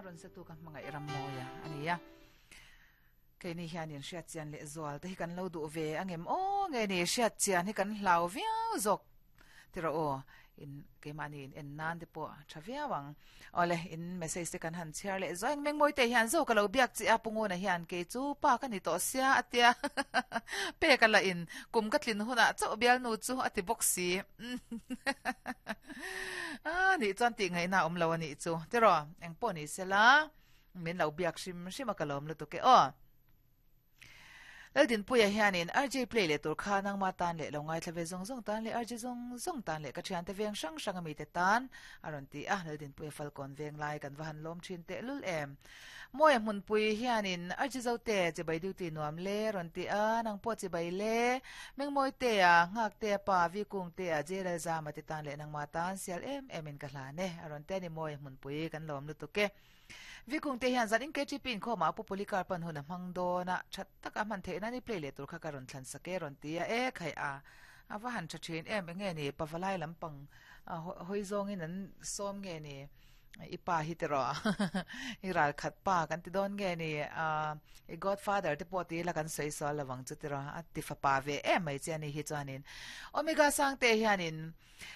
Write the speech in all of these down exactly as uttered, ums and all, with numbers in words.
ron se tu ka hmangai ram moya ania keini hianin hriat chian leh zual te hi kan lo duh ve angem o nge ni hriat chian hi kan hlau viau zawk tiro o in keimahni in en nan te pawh tha viau ang ole in message te kan han chhiar leh zawng meng mawi te hian zo ka lo biak chi a punguna hian ke chu pa ka ni to sia atia pe ka la in kum ka tlin huna chau bial nu chu ati box si a ni chuan ti ngai na om lo ani chu tiro eng pawh ni sela min lo biak hrim hrim a ka lawm lutuk e o Eldin puya hianin R J play le tur kha nang ma tan le lo ngai thlave zong zong tan le R J zong zong tan le ka thian te veng sang sang ami te tan aron ti a Eldin puya falcon veng lai kan vahan lom thin te lul em moya hmun pui hianin R J zo te che bai duty nuam le ron ti a nang po che bai le meng moi te a ngak te pa vi kung te a jelal za ma te tan le nang ma tan sial em em in ka hla ne aron te ni moya hmun pui kan lom lu tu ke vikung te hian zan in K T P in kho ma pu polikar pan huna mang do na that taka man the na ni play le tur kha ka ron thlan sake ron tia e khai a awa han tha thin em nge ni pavalai lampang hoi zong in an som nge ni ipa hi te ro i ral khat pa kan ti don nge ni a i godfather te pawh ti la kan sei so lawang chu ti ro a ti fa pa ve em mai che ani hi chuanin omega sang te hianin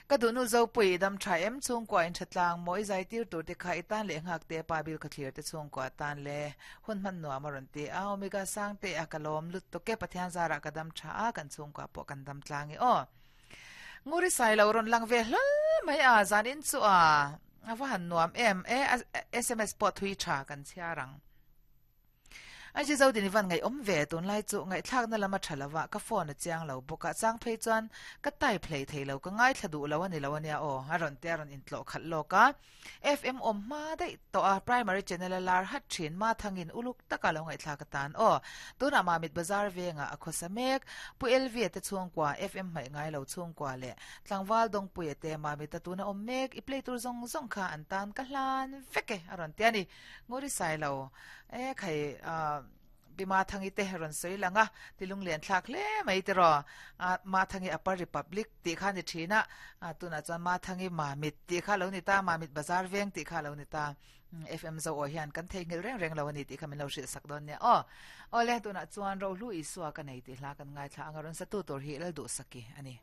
ka du nu zo pui dam tha em chung kwa in thatlang moi zai tir tur te kha itan le ngak te pa bil kha thlir te chung kwa tan le hun man nuam aron ti a omega sang te akalom lut to ke pathian zara ka dam tha a kan chung kwa pawh kan dam tlang e o nguri sai lo ron lang ve hlal mai a zan in chu a awa han nuam em e S M S pawh thui tha kan chiarang ai chi zo din van ngai om ve tun lai chu ngai thlak na lama thalawa ka phone a chiang lo boka chang phei chuan ka tai play theilo ka ngai thla du lo ani lo ania o aron te aron in tlo khat loka F M om ma dei to a primary channel lar hat thin ma thangin uluk taka lo ngai thla ka tan o tuna ma mit bazar venga akhosamek pu L V te chung kwa F M mai ngai lo chung kwa le tlangwal dong pui te ma mit ta tuna om mek i play tur zong zong kha an tan ka hlan veke aron te ani ngori sai lo e khai a bima thangi te ron soi langa tilung len thlak le mai te ro a ma thangi upper republic ti kha ni thina a tuna chuan ma thangi ma mit ti kha lo ni ta ma mit bazar veng ti kha lo ni ta F M zo o hian kan thei ngil reng reng lo ani ti kha min lo hrilh sak don ne o ole tuna chuan ro hlu isua ka nei ti hla kan ngai thla anga ron sa tu tur hi lal du saki ani.